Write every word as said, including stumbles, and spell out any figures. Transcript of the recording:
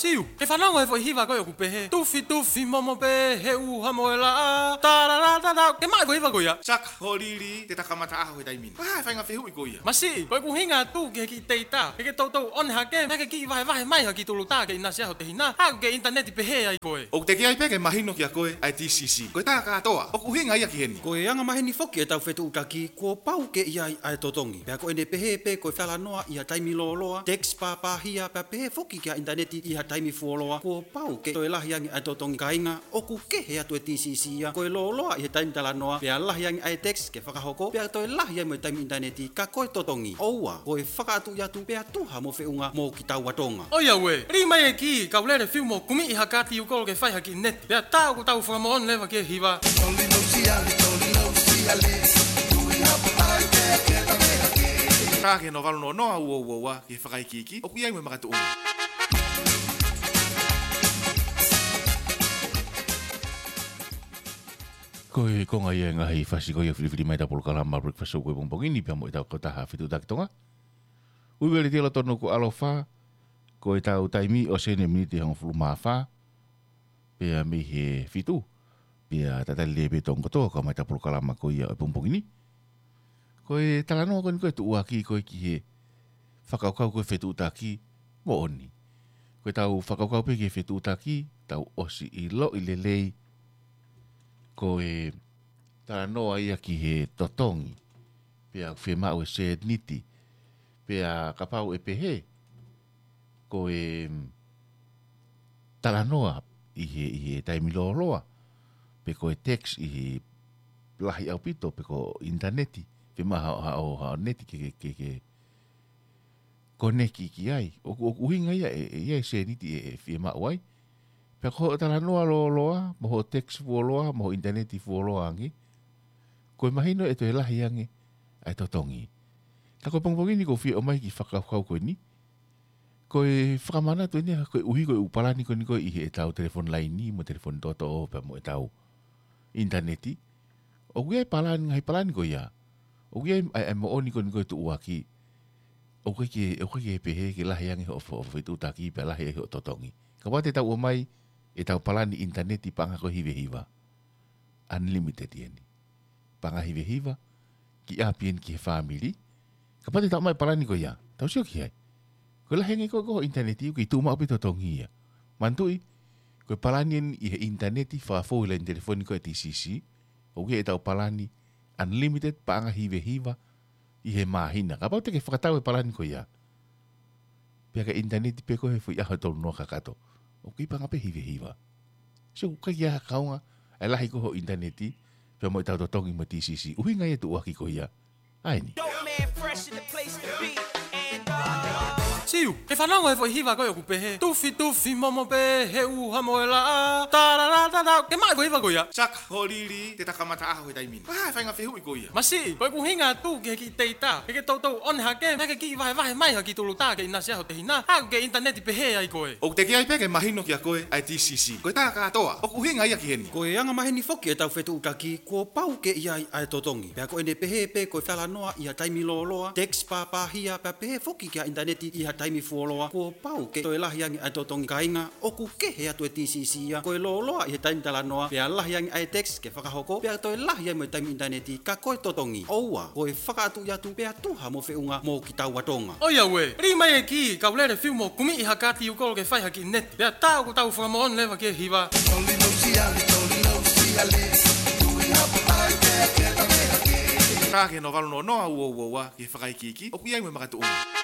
Tiu, ke fanongo he foʻi hiva ko ē ʻoku pehē: Tufi, tufi, momo pē he ʻuha mo e laʻā. Tarara, tarara, ke maʻu e foʻi hiva ko ia. Saka, holili, te ta kamata ʻaho he taimi ni. Pea hā e faʻahinga fehuʻi ko ia? Masiʻi, ko ʻeku ʻuhinga atu ki he kiʻi teitā. Ke ke toutou ʻone hake, pea ke kiʻi vahevahe mai ha kiʻi tulutā ke ʻinasi ʻaho tehina. Hā, ko e kiʻi ʻinitaneti pehē ai ko ē. ʻOku teʻeki ai pē ke mahino kia koe ʻa e T C C. Ko e tā kātoa, ʻoku ʻuhinga ia ki heni. Ko e anga maheni foki ʻetau fetuʻutaki, kuo pau ke ʻi ai ʻa e totongi. Pea ko ʻene pehē pē ko e talanoa ʻi ha taimi lōloa, text pāpāhia, pea pehē foki ki ha ʻinitaneti ʻi ha taimi fuoloa, kuo pau ke toe lahi ange ʻa e totongi. Kāinga, ʻoku kehe atu e T C C ia, ko e lōloa ʻi he taimi talanoa, pea lahi ange ʻa e text ke fakahoko, pea toe lahi ange mo e taimi ʻinitaneti, ka ko e totongi. ʻOua, ko e fakaʻatuʻi atu, pea tuha mo feʻunga mo kitaua Tonga. ʻOiauē, lī mai e kī, kau lele fiu mo kumi ʻi ha kāti ʻūkolo ke fai ha kiʻi neti. Pea tā ʻoku tau fakamoʻoni leva ki he hiva. Tā ki he noa valu noa noa ua ua ua, ki he fakaikiiki, ʻoku ʻi ai mo e makatuʻunga. Ko e konga ia e ngaahi fasi ko ia ʻoku filifili mai ʻetau polokalama Breakfast Show ko e pongipongi ni pea mo ʻetau kautaha Fetuʻutaki Tonga. Ui veli telo tonu ko ʻAlofa, ko ʻetau taimi ʻosi eni e miniti ʻe hongofulu mā fā, pea mei he fitu, pea tatali lelei pē Tonga kotoa kau mai ʻetau polokalama ko ia ʻo e pongipongi ni. Ko e talanoa ko eni ko e tuʻuaki ko ē ki he fakakaukau ko e fetuʻutaki moʻoni. Ko ʻetau fakakaukau pē ki he fetuʻutaki, tau ʻosi ʻiloʻi lelei, ko e talanoa ia ki he totongi, pea fiemaʻu e sēniti, pea kapau ʻe pehē, ko e, mm, talanoa ʻi he, ʻi he taimi lōloa, pe ko e text ʻi he lahi ʻaupito, pe ko e ʻinitaneti, fiemaʻu haʻo, haʻo, haʻo neti ke, ke, ke, ke koneki ki ai. ʻOku, ʻoku ʻuhinga ia ʻe, ʻe ʻi ai e sēniti ʻe, ʻe fiemaʻu ai. Pea ko hoʻo talanoa lōloa, mo hoʻo text fuoloa, mo hoʻo ʻinitaneti fuoloa ange, ko e mahino ʻe toe lahi ange ʻa e totongi. Ka ko e pongipongi ni ʻoku ou fie ʻomai e kiʻi fakakaukau ko eni. Ko e fakamanatu eni, koeʻuhi ko e ʻū palani ko eni ko ē ʻi heʻetau telefoni laini, mo e telefoni toʻotoʻo, pea mo ʻetau ʻinitaneti. ʻOku ʻi ai e palani, ngaahi palani ko ia. ʻOku ʻi ai ʻa e, ʻa e moʻoni ko eni ko e tuʻuaki. ʻOku ʻikai ke, ʻoku ʻikai ke pehē ke lahi ange hoʻo, hoʻo fetuʻutaki pea lahi ange hoʻo totongi. Kapau te tau ʻomai ʻetau palani ʻinitaneti paʻanga ko e hiva hiva. Unlimited eni. Paʻanga hiva hiva, kiʻi ʻapi eni ki he fāmili. Kapau te tau ʻomai e palani ko ia, tau sio ki ai. Ko e lahi ange ko ē hoʻo ʻinitaneti, ʻoku kei tuʻu maʻu pē totongi ia. Manatuʻi, ko e palani eni ʻi he ʻinitaneti, fakafou he laini telefoni ko ē T C C, ʻoku ʻi ai ʻetau palani unlimited paʻanga hiva hiva ʻi he māhina. Kapau te ke fakatau e palani ko ia, pea ke ʻinitaneti pē koe he foʻi ʻaho ʻe tolu noa kakato, ʻoku kei paʻanga pē hiva hiva. So, ʻoku ʻikai ke ʻi ai ha kaunga ʻa e lahi ko ē hoʻo ʻinitaneti pea mo ʻetau totongi mo e T C C. ʻUhinga ia e tuʻuaki ko ia. ʻA eni. Dope man fresh in the place to be. And, uh, Siu, ke fanongo he foʻi hiva ko ē ʻoku pehē: Tufi, tufi, momo pē he ʻuha mo e laʻā. Tarara, tarara, ke maʻu e foʻi hiva ko ia. Saka, holili, te ta kamata ʻaho he taimi ni. Pea hā e faʻahinga fehuʻi ko ia? Masiʻi, ko ʻeku ʻuhinga atu ki he kiʻi teitā. Ke ke toutou ʻone hake, pea ke kiʻi vahevahe mai ha kiʻi tulutā ke ʻinasi ʻaho tehina. Hā, ko e kiʻi ʻinitaneti pehē ai ko ē. ʻOku teʻeki ai pē ke mahino kia koe ʻa e T C C. Ko e tā kātoa, ʻoku ʻuhinga ia ki heni. Ko e anga maheni foki ʻetau fetuʻutaki, kuo pau ke ʻi ai ʻa e totongi. Pea ko ʻene pehē pē ko e talanoa ʻi ha taimi lōloa, text pāpāhia, pea pehē foki ki ha ʻinitaneti ʻi ha taimi fuoloa, kuo pau ke toe lahi ange ʻa e totongi. Kāinga, ʻoku kehe atu e T C C ia, ko e lōloa ʻi he taimi talanoa, pea lahi ange ʻa e text ke fakahoko, pea toe lahi ange mo e taimi ʻinitaneti, ka ko e totongi. ʻOua, ko e fakaʻatuʻi atu, pea tuha mo feʻunga mo kitaua Tonga. ʻOiauē, lī mai e kī, kau lele fiu mo kumi ʻi ha kāti ʻūkolo ke fai ha kiʻi neti. Pea tā ʻoku tau fakamoʻoni leva ki he hiva. Tā ki he noa valu noa noa ua ua ua, ki he fakaikiiki, ʻoku ʻi ai mo e makatuʻunga.